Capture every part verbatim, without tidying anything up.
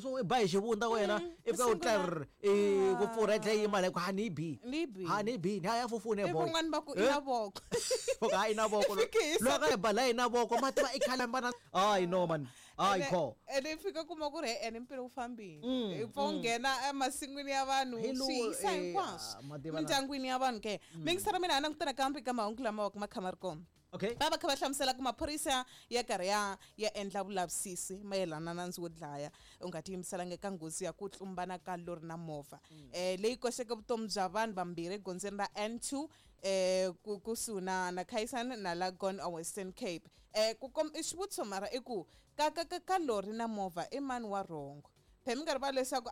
So i ba hi xivundza wena i fika u tlar i ku pfurha tlhe yima la ku ha ni bi ha ni bi ni ya fufune boy van'wana va ku i na voko voko ha ina voko loko i ba la ina voko ma tiva i khale mbana ai no man ai ko ene fika kuma ku ri ene mpilo u fambile i pfa u nghena emasin'wini ya vanhu swi yisa hinkwaswo mindyangwini ya vanhu ke mingisara mina a langutana kambe ka mahungu lama wa ku ma kha ma ri kona. Okay. Va va kha va hlamusela ku maphorisa ya karhi ya ya endla vulavisisi mayelana na nandzu wo dlaya u nga tiyimiselanga eka nghozi ya ku tlumbana ka lori na movha eh leyi koxeke vutomi bya vanhu vambirhi egondzweni ra N two eh ku kusuhi na na Kaisan na Lagon a Western Cape. Eh ku kom i xivutiso mara i ku ka ka ka lori na movha i mani wa wrong? Phela mi nga rivali leswaku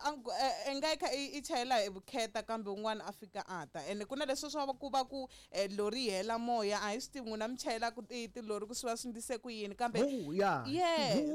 i nga kha i chayela hi vukheta kambe un'wana a fika a ta ene ku na leswi swa ku va ku lori yi hela moya a hi swi tivi n'wina mi chayelaka tilori ku swi va swi ndlise ku yini kambe yeah yes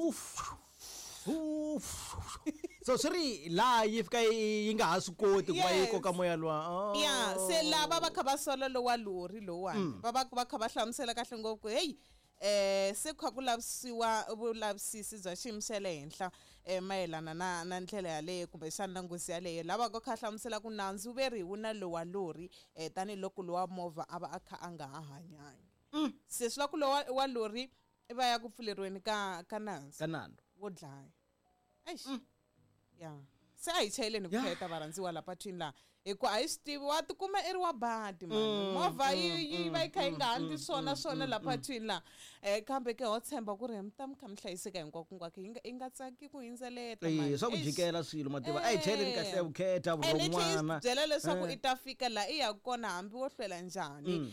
so swi ri laha yi fika yi nga ha swi koti ku va yi koka moya luwa. Ya se lava va kha va sola lowa lori lowuwani va va va kha va hlamusela kahle ngopfu ku heyi eh se kha ku lavisiwa vulavisisi bya xiyimo xa le henhla eh mayelana na na ndlela yaleyo kumbexana na nghozi yaleyo lava ko kha hlamusela ku nandzu ve ri wu na lowa lori eh tanihiloko lowa movha a va a kha a nga ha hanyangi. Se swi la ku lowa wa lori va ya ku pfuleriweni ka ka nandzu ka nandzu wo dlaya. Eish ya se a hi chayeleni vukheta varhandziwa la patwini laha hikuva a hi swi tivi wa tikuma i ri wa badi mani movha yi yi va yi kha yi nga handli swona swona la patwini laha um kambe ke ho tshemba ku ri mi ta mi kha mi hlayiseka hinkwako hinkwako yi nga yi nga tsaki ku hundzeleta mani swa ku jikela swilo mativa a hi chayeleni kahle vukheta vurhon'wana byela leswaku i ta fika laha i yaka kona hambi wo hlwela njhani um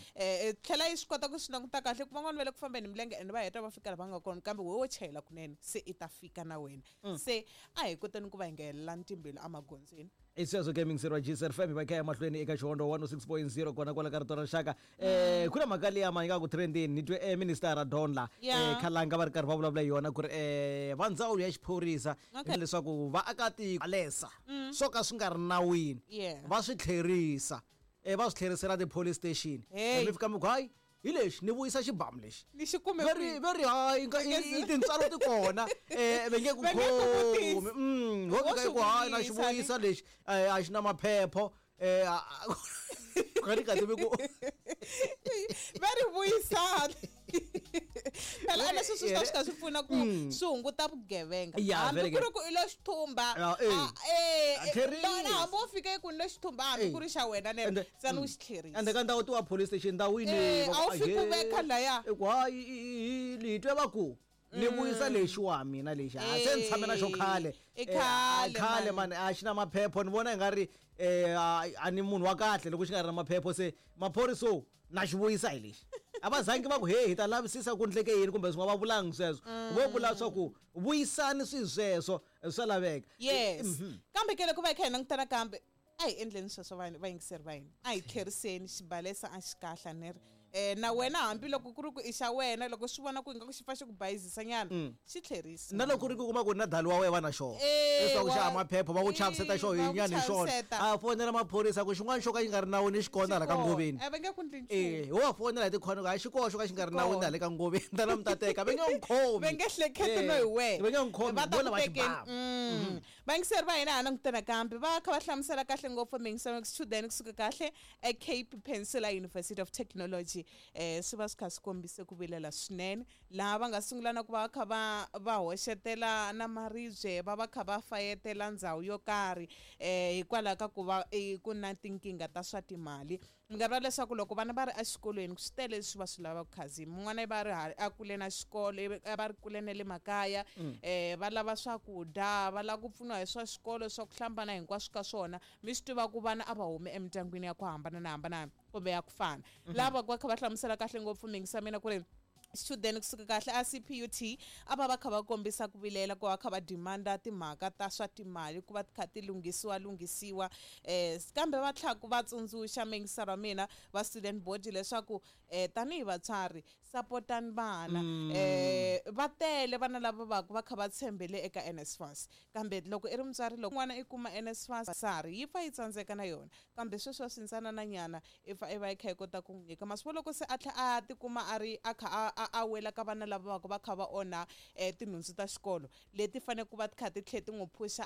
tlhela yi swi kota ku swi languta kahle ku van'wana va le ku fambeni hi milenge ende va heta va fika laha va nga kona kambe we wo chayela kunene se i ta fika na wena se a hi koteni ku va hi nga helelani timbilu emagondzweni. I sweswo ke mingiseri wa G S F M va kha ya mahlweni eka Xihondo one oh six point zero kona kwala ka rito ra rixaka. Eh ku na mhaka liya ma yi nga ku trendini ni twe eh minister Don la eh Khalanga va ri karhi va vulavula hi yona ku ri eh va ndzawulo ya xiphorisa leswaku vaakatiko alesa swo ka swi nga ri nawini va swi tlherisa eh va swi tlherisela ti-police station mi fika mi ku hayi hi lexi ni vuyisa xibamu lexi ni xi kume veri veri hayi nga i tintswalo ti kona eh va nge ku khomi mm ho fika ku hayi na xi vuyisa lexi a xi na maphepho eh ka ri ka tivi ku va ri vuyisana phela a leswi swi ta swi ka swi pfuna ku swi hunguta vugevenga hambi ku ri ku i lo xithumba eh na hambi wo fika ku ni lo xithumba hambi ku ri xa wena ne tsana u xi tlherisa ende ka ndhawu tiwa police station ndhawini a wu fiki u veka laya i ku hayi hi twe va ku ni vuyisa lexi wa mina lexi a se ni tshame na xo khale khale khale mani a xi na maphepho ni vona i nga ri eh a ni munhu wa kahle loko xi nga ri na maphepho se maphoriso na xi vuyisa hi lexi a va zangi va ku he hi ta lavisisa ku ndleke yini kumbe swin'wana va vulangi sweswo vo vula swa ku vuyisani swi sweswo swa laveka. Yes kambe ke loko va kha hi langutana kambe a hi endleni sweswo va vayingiseri va hina a hi tlheriseni xibalesa a xi kahle ni ri eh na wena hambi loko ku ri ku i xa wena loko swi vona ku ingaku xi pfa xi ku bayizisa nyana xi tlherisa na loko ri ku kuma ku na dali wa wena va na xona leswaku xa maphepho va ku chaviseta xo hi nyana hi xona a fonela maphorisa ku xin'wana xo ka xi nga ri nawini xi kona la ka ngoveni a va nge ku ndli nchumu eh ho fonela hi tikhona ku a xi koho xo ka xi nga ri nawini la ka ngoveni ta na mi ta teka va nge n'wi khomi va nge hleketi no hi wena va nge n'wi khomi vo lava xibamu vayingiseri va hina ha langutana kambe va kha va hlamusela kahle ngopfu mingiselo student kusuka kahle e Cape Peninsula University of Technology eh swi va swi kha swi kombise ku vilela swinene laha va nga sungula na ku va kha va va hoxetela na maribye va va kha va fayetela ndhawu yo karhi eh hikwalaho ka ku va ku na tinkingha ta swa timali mi nga vula leswaku loko vana va ri exikolweni swi tele leswi va swi lavaka khazini mun'wana va ri a kule na xikolo va ri kule na le makaya eh va lava swakudya va lava ku pfuniwa hi swa xikolo swa ku hlambana hinkwaswo ka swona mi swi tiva ku vana a va humi emindyangwini ya ku hambana na hambana kumbe ya ku fana lava va kha va hlamusela kahle ngopfu mingisa mina ku ri student kusuka kahle a C P U T a va va kha va kombisa ku vilela ku va kha va demanda timhaka ta swa timali ku va kha ti lunghisiwa lunghisiwa eh kambe va tlhela ku va tsundzuxa mingisero wa mina va student board leswaku eh tanihi vatswari Sapotani vana. Eh va tele vana lava va va kha va tshembele eka N S F A S, kambe loko i ri mutswari, loko n'wana i kuma N S F A S sari yi pfa yi tsandzeka na yona, kambe sweswi wa swintsanana nyana i pfa i va i kha i kota ku n'wi nyika masiku. Loko se a tlhela a tikuma a ri a kha a- a a wela ka vana lava va va kha va onha um tinhundzu ta xikolo leti faneleke ku va ti kha ti tlhe ti n'wi phusha.